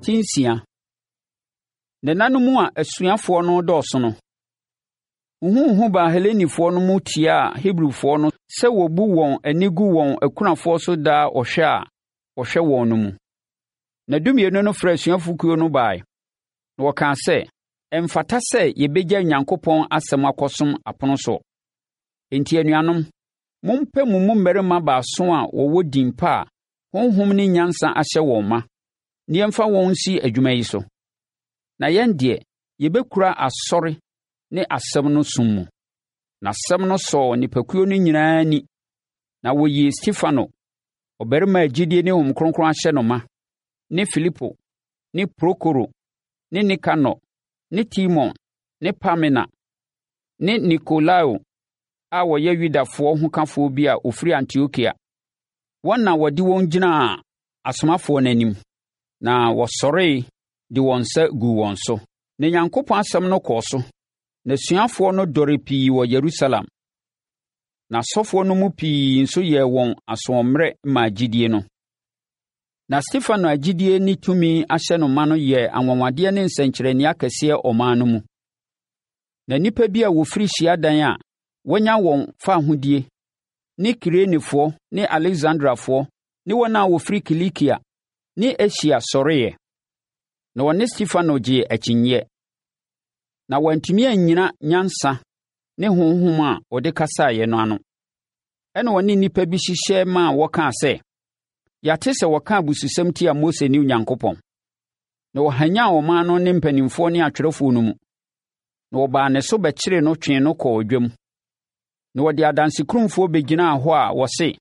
6. Na nna no mu a asuafoɔ no redɔɔso no, huhuhuhu baa Helenifoɔ no mu tiaa Hebrifoɔ no sɛ wɔbu wɔn ani gu wɔn akunafoɔ so daa ɔhwɛ a wɔhwɛ wɔn no mu. Na Dumienu no frɛɛ asuafokuo no baeɛ, na wɔkaa sɛ, Ɛmfata sɛ yɛbɛgya Onyankopɔn asɛm akɔsom apono soɔ. Enti, anuanom, mompɛ mo mu mmarima baason a wɔwɔ din pa a Honhom ne nyansa ahyɛ wɔn ma, na yɛmfa wɔn nsi adwuma yi so. Na yɛn deɛ, yɛbɛkura asɔre ne asɛm no som mu. Na asɛm no sɔɔ nnipakuo no nyinaa ani, na wɔyii Stefano, ɔbarima a gyidie ne Honhom Kronkron ahyɛ no ma, ne Filipo, ne Prokoro, ne Nikanor, ne Timon, ne Parmena, ne Nikolao a ɔyɛ Yudafoɔ hokafoɔ bi a ɔfiri Antiokia. Wɔn na wɔde wɔn gyinaa asomafoɔ no anim, na wɔsɔree de wɔn nsa guu wɔn so. Na Nyankopɔn asɛm no kɔɔ so, na asuafoɔ no dɔre pii wɔ Yerusalem. Na asɔfoɔ no mu pii nso yɛɛ wɔn asoɔmmerɛ maa gyidie no. Na Stefano a gyidie ne tumi ahyɛ no ma no yɛɛ anwanwadeɛ ne nsɛnkyerɛnneɛ akɛseɛ ɔman no mu. Na nnipa bi a wɔfiri hyiadan a wɔanya wɔn fawohodie ne Kirenefoɔ ne Aleksandriafoɔ ne wɔn a wɔfiri Kilikia ne Asia sɔreeɛ, na wɔne Stefano gyee akyinnyeɛ. Na wɔantumi annyina nyansa ne honhom a ɔde kasaeɛ no ano. Ɛnna wɔne nnipa bi hyehyɛ maa wɔkaa sɛ, Yɛate sɛ wɔka abususɛm tia Mose ne Onyankopɔn. Na wɔhanyan ɔman no ne mpanimfoɔ ne atwerɛfoɔ no mu, na wɔbaa ne so bɛkyeree no twee no kɔɔ dwam. Na wɔde adansekurumfoɔ bɛgyinaa hɔ a wɔse,